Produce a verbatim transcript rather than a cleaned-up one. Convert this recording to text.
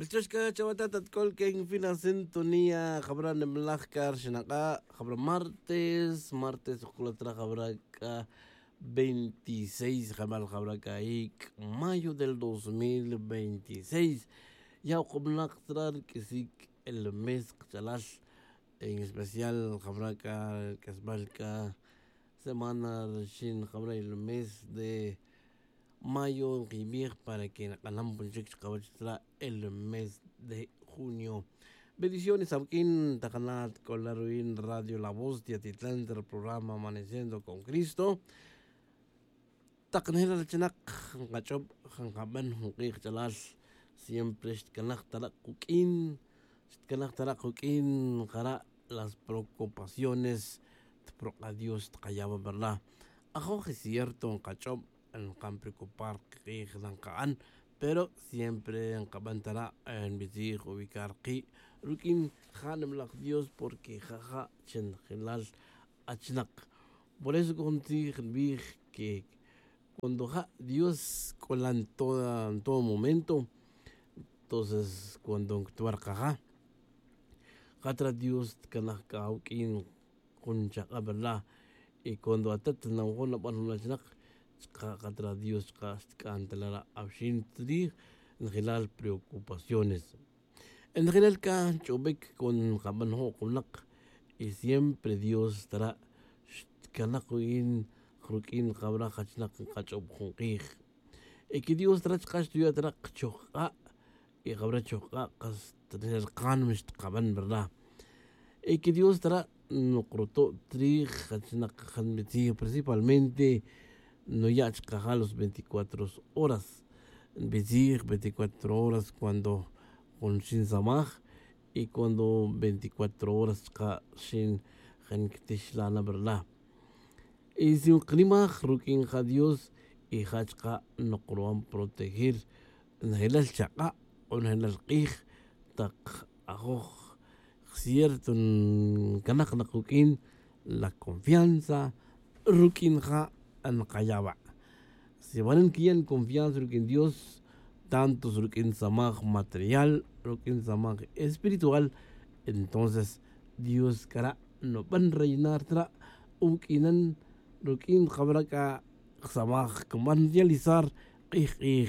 Wilchox c'a chawe ta tatc'ol que en fina sintonía jabra' nimalaj c'a rxinak'a', jabra' martes martes ojc'ulat ra jabra' c'a veintiséis jabal jabra' c'a ic' mayo del dos mil veintiséis. Ya' okomnak tra rq'uisic el mes kach'alal, en especial jabra' c'a rq'uesbal c'a semana rxin jabra' el mes de mayo nkibij para que nk'anam pon chic chkawech tra el mes de junio. Bendiciones awq'uin takana' tk'ola' ru'in radio la voz de atitlan tra programa amaneciendo con cristo. Tak nejel achinak nkach'ob, nkaban jun k'ij ch'alal siempre xtcanaj tara' kuq'uin xtcanaj tara' kuq'uin nkara' las preocupaciones. Tprok'a dios tkayawa' verdad. Ajoj y cierto nkach'ob nkan preocupar kik'ij nkaban, pero siempre nkaban tara' nbitzij ubicar ki' ruq'uin ja' nimalaj dios porque ja' ja' chi njelal achinak. Por eso c'o jun tzij nbij que cuando ja' dios c'ola' en todo momento, entonces cuando nctwar kaja' ja' tra dios tcanaj c'a awuq'uin jun chak'a verdad. Y cuando atat nawajo' naban jun achinak chka' ja' tra dios chka' xtc'an ta la ra' awxin tzij njelal preocupaciones. Njelal c'a nch'obic cuando nkaban jo' jun winak y siempre dios tara' xtcanak ruq'uin ruq'uin jabra' jachinak nkach'ob jun k'ij. Y que dios tara' chka' xtuya' tara' kchojk'a' y jabra' chojk'a' kas tnejel kanm xtkaban verdad. Y que dios tara' nokruto' trij jachinak janbitzij principalmente nuya' chkaja' los veinticuatro horas. Nbitzij veinticuatro horas cuando jun xinsamaj y cuando veinticuatro horas chka' xin jankitix la' na verdad. Y si nkinimaj ruq'uin ja' dios y ja' chka' nokruban proteger njelal chak'a' o njelal k'ij tak ajoj cierto nkanak na kuq'uin la confianza ruq'uin ja' nkayawa'. Si wan nkiya' nconfianza ruq'uin dios tanto ruq'uin samaj material ruq'uin samaj espiritual, entonces dios c'ara' nuban reinar tra' uq'uinan ruq'uin jabra' c'a samaj cman realizar k'ij k'ij.